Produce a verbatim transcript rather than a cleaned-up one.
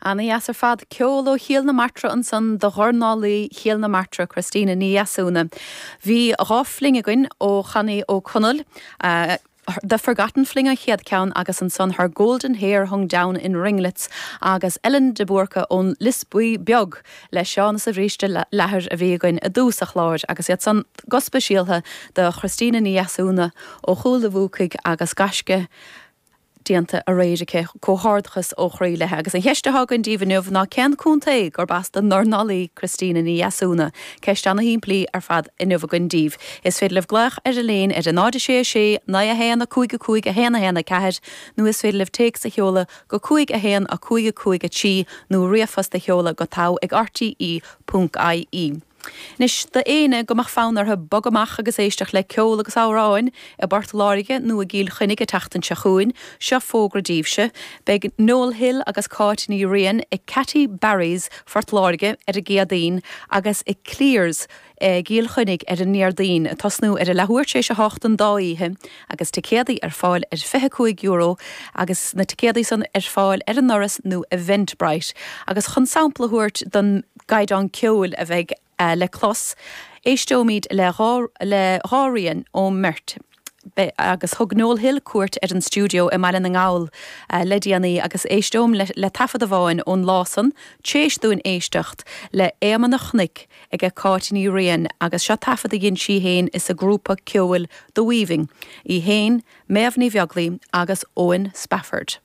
Ana dheas ar fad ceol ó Chill na Martra ansan do dhornálaí Chill na Martra Christina Ní Dheasúna. Bhí dhá fling againn ó Channy Ó Conaill. Uh, The Forgotten Fling an chéad ceann agus ansan Her Golden Hair Hung Down in Ringlets agus Ellen de Búrca ón Lios Buí Beag le Seán sa bhríste leathair a bhí againn i dtús an chláir agus iad san go speisialta do Christina Ní Dheasúna ó Chúil an Bhuacaigh agus gaisce déanta aréir aici comhghairdeachas ó chroí léi agus an cheist atá againn daoibh inniu ná cén contae gurb as don ndornálaí Christina Ní Dheasúna, ceist ana-shimplí ar fad inniu againn daoibh. Is féidir libh glaoch ar an líne ar a náid sé sé naoi a haon a cúig a cúig a haon a haon a ceathair nó is féidir libh téacs a sheoladh go cúig a haon a cúig a cúig a trí nó ríomhphost a sheoladh go togha ag RTE ponc IE. Anois d'éinne go mbeadh fonn orthu bogadh amach agus éisteacht le ceol agus amhráin i bPort Láirge nó i gCill Chainnigh an tseachtain seo chugainn, seo fógra daoibhse. Beidh Noel Hill agus Cáit Ní Riain i Catty Barry's Phort Láirge ar an gCéadaoin agus i Clears i gCill Chainnigh ar an nDéardaoin, ag tosnú ar a leathuair tar éis a hocht an dá oíche agus ticéadaí ar fáil ar fiche cúig euro agus na ticéadaí san ar fáil ar an ndoras nó Eventbrite. Agus chun sampla a thabhairt don gcaighdeán ceoil a bheidh le clos, éisteoimid le dhá le dhá rian ón mbeirt. agus thug Noel Hill cuairt ar an stiúideo i mBaile na nGall le déanaí agus éisteom le, le taifead amháin ón lá san, tar éis dúinn éisteacht le Éamonn an Chnoic ag Cáit Ní Riain agus seo taifead a dhein sí féin is a grúpa ceoil The Weaving, í féin, Méabh Ní Bheaglaoich agus Owen Spafford.